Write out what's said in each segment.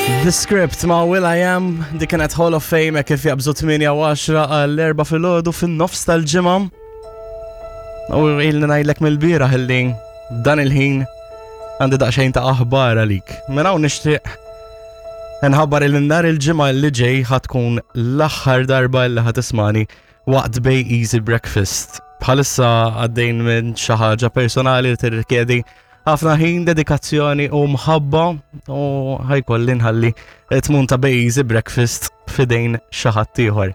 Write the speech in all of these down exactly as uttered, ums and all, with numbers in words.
The Script ma' Will I Am, dik kienet Hall of Fame kif jabżu tmienja u għaxra għall-erbgħa filgħodu fin-nofs tal-ġimgħa. U ilni ngħidlek mill-bieraħ illi dan il-ħin għandi daqsxejn ta' aħbar għalik. Minn hawn nixtieq nħabbar il nhar il-ġimgħa li ġej ħa tkun l-aħħar darba li ħa tismagħni waqt Bay Easy Breakfast. Bħalissa għaddejn minn xi ħaġa personali li tirrikjedi ħafna ħin, dedikazzjoni u mħabba u ħa jkolli nħalli tmun ta' Bay Easy Breakfast f'idejn xi ħadd ieħor.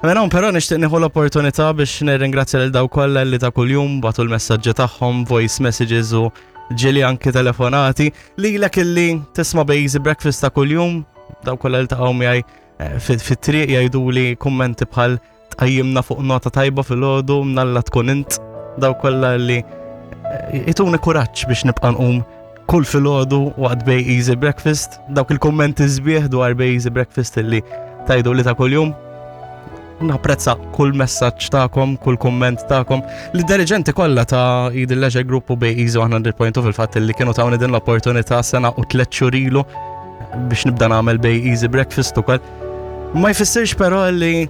Mela però nixtieq nieħu l-opportunità biex nirringrazzja lil dawk kollha li ta' kuljum bagħtu l-messaġġi tagħhom, voice messages u ġieli anki telefonati lilek illi tisma' Bay Easy Breakfast ta' kuljum, dawk kollha li ltaqgħu miegħi eh, fit-triq jgħiduli kummenti bħal "tqajjimna fuq nota tajba filgħodu, mnalla tkun int", dawk kollha li eh, jtuni kuraġġ biex nibqa' nqum kull filgħodu waqt Bay Easy Breakfast, dawk il-kummenti sbieħ dwar Bay Easy Breakfast illi tgħidu li ta' kuljum. Napprezza kull messaġġ tagħkom, kull kumment tagħkom. Lid-diriġenti kollha ta' Eden Leisure Group u Bay Easy one hundred point two fil-fatt li kienu tawni din l-opportunità sena u tliet xhur ilu biex nibda nagħmel Bay Easy Breakfast ukoll. Ma jfissirx però li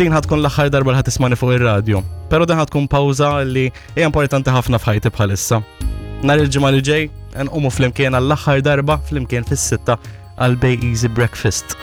din ħa tkun l-aħħar darba li ħa tismagħni fuq ir-radio. Però din ħa tkun pawża li hija importanti ħafna f'ħajti bħalissa. Nhar il-ġimgħa li ġej nqumu flimkien għall-aħħar darba flimkien fis-sitta għal Bay Easy Breakfast.